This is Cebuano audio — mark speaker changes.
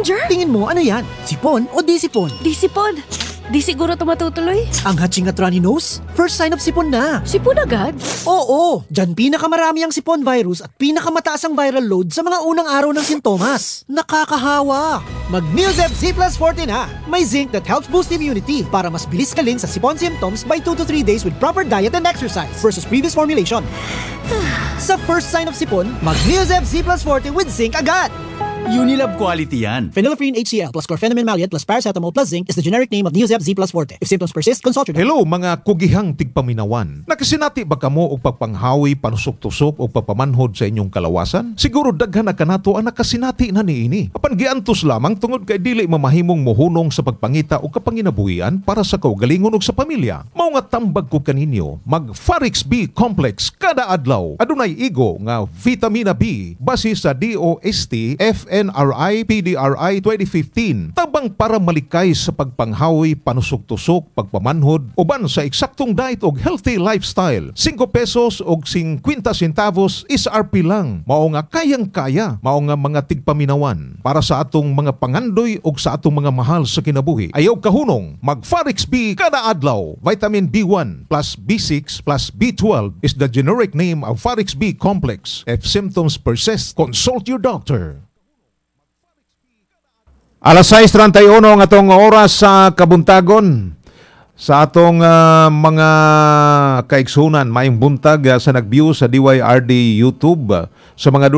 Speaker 1: Ginger?
Speaker 2: Tingin mo, ano yan? Sipon o di sipon?
Speaker 1: Di sipon. Di siguro to matutuloy.
Speaker 2: Ang hatsing at runny nose? First sign of sipon na.
Speaker 1: Sipon agad?
Speaker 2: Oo, dyan pinakamarami ang sipon virus at pinakamataas ang viral load sa mga unang araw ng sintomas. Nakakahawa! Mag Neozep Z Plus 40 na! May zinc that helps boost immunity para mas bilis galing sa sipon symptoms by 2 to 3 days with proper diet and exercise versus previous formulation. Sa first sign of sipon, mag Neozep Z Plus 40 with zinc agad!
Speaker 3: Unilab quality yan.
Speaker 2: Phenylephrine HCl plus chlorphenamine maleate plus paracetamol plus zinc is the generic name of Neozep Z Plus Forte. If symptoms persist, consult your doctor.
Speaker 4: Hello, mga kugihang tigpaminawan. Nakasinati ba kamo og pagpanghawi, panusok-tusok o pagpamanhod sa inyong kalawasan? Siguro daghan na kanato ang nakasinati na niini. Apan giantos lamang tungod kay dili mamahimong mohunong sa pagpangita og kapanginabuhian para sa kaugalingon ug sa pamilya. Mao nga tambag ko kaninyo, mag Farix B Complex kada adlaw. Adunay igo nga vitamina B base sa DOST FNRI PDRI 2015. Tabang para malikay sa pagpanghawi, panusok-tusok, pagpamanhod, uban sa eksaktong diet og healthy lifestyle. 5 pesos og 50 centavos SRP lang. Mao nga kayang-kaya, mao nga mga tigpaminawan para sa atong mga pangandoy og sa atong mga mahal sa kinabuhi. Ayaw kahunong, mag Farix B kada adlaw. Vitamin B1 plus B6 plus B12 is the generic name of Farix B Complex. If symptoms persist, consult your doctor. Alas 6:31 ang atong oras sa kabuntagon. Sa atong mga kaigsunan, maayong buntag sa nag-view sa DYRD YouTube, sa mga